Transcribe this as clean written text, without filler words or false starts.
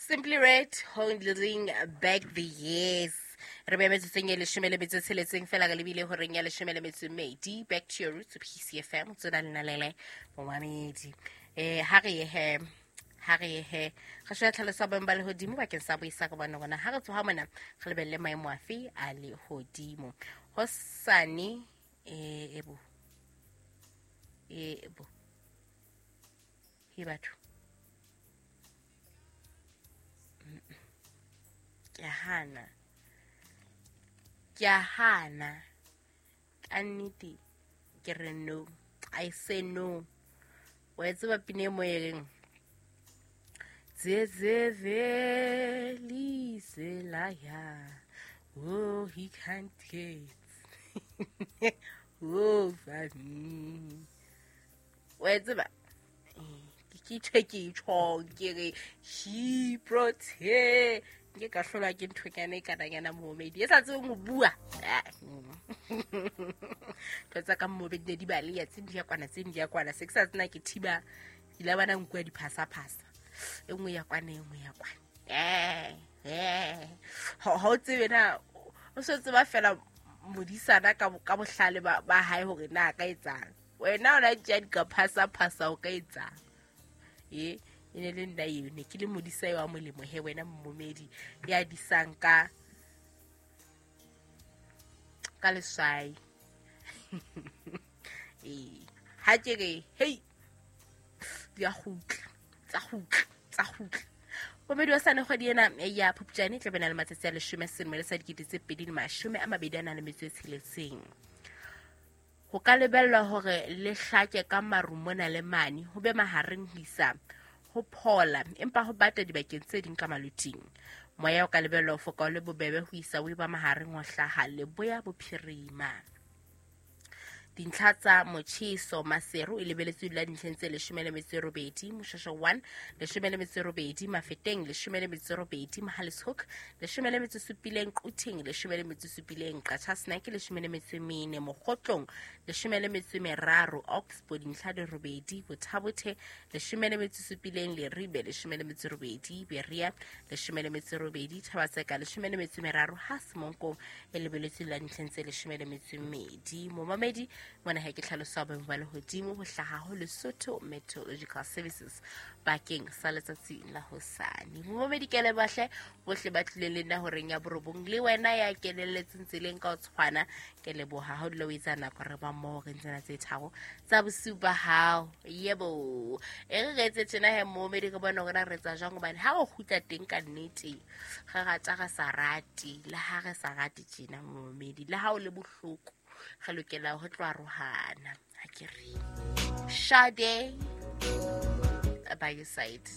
Simply Red, Holding Back the Years. Re be metsotsong e leshome le metso e tsheletseng fela re lebile horeng ya leshome le metso e mmedi. Back to your roots, PCFM, tsona lenalele momamedi. Ha re ye he, ha re ye he. Re sheba tlhaloso ya boemo ba lehodimo bakeng sa boisa ka bona rona. Ha re tsoha mona, re lebelle maemo afe a lehodimo. Hosane, ebo. Ebo. He batho. Ke a hana. Ke a hana. Ka nnete ke re no. I say no. Wa e tseba pina e mo e reng? Tsetseve liselaya. Oh, he can't get over me. Wa e tseba? Ke tjhe ke tjhong ke re he protect nke ka hlolwa ke nthonyana e kananyana moomedi e sa tsebeng ho bua. Ntho tsa ka moomedi ne di baleya, tse di ya kwana, tse di ya kwana. Se ke sa tsena ke thiba, ke ile bona nkuwa diphasa-phasa. E nngwe ya kwana, e nngwe ya kwana. Ha o tsebe na, o so tseba fela modisana ka bohlale ba hae hore na a ka etsang. Wena o la tjea di ka phasa-phasa o ka etsang. E ne le nna eo, ne ke le modisa eo wa molemo he wena mmomedi ya disang ka leswai. Ha ke re, hei, di a kgutla, tsa kgutla, tsa kgutla. Momedi wa sane kgwedi ena ya Phupjane e tla bena le matsatsi a leshome selemo le sa dikete tse pedi le mashome a mabedi a nang le metso e tsheletseng. Ho ka lebellwa hore le hlake ka maru mona le mane, ho be mahareng ho isa ho phola, empa ho bata dibakeng tse ding ka maloting. Moya o ka lebellwa ho foka o le bobebe ho isa o eba mahareng ho hlaha leboya bophirima. Dintlha tsa motjheso Maseru e lebeletswe dula dintlheng tse leshome le metso e robedi, Moshweshwe 1 leshome le metso e robedi, Mafeteng leshome le metso e robedi, Mohale's Hoek leshome le metso e supileng, Quthing leshome le metso e supileng, Qacha's Nek leshome le metso e mene, Mokgotlong leshome le metso e meraro, Oxbow dintlha di robedi, Bothabothe leshome le metso e supileng, Leribe leshome le metso e robedi, Berea leshome le metso e robedi, Thaba-Tseka leshome le metso e meraro, ha Semonkong e lebeletswe la dintlheng tse leshome le metso e mmedi. Momamedi mona he ke tlhaloso ya boemo ba lehodimo ho hlaha ho Lesotho Meteorological Services bakeng sa letsatsi la hosane. Momamedi ke leboha bohle ba tlileng le nna horeng ya borobong, le wena ya kenelletseng tseleng ka ho tshwana, ke leboha ha o dula o etsa nako re ba mmoho re ntsena tse tharo tsa bosiu ba hao. Yebo, e re re etse tjena he momamedi, re bone hore na re etsa jwang, hobane ha o kgutla teng ka nnete re rata re sa rate, le ha re sa rate tjena momamedi, le ha o le bohloko re lokela ho tlo arohana. Ha ke re Sade by your side.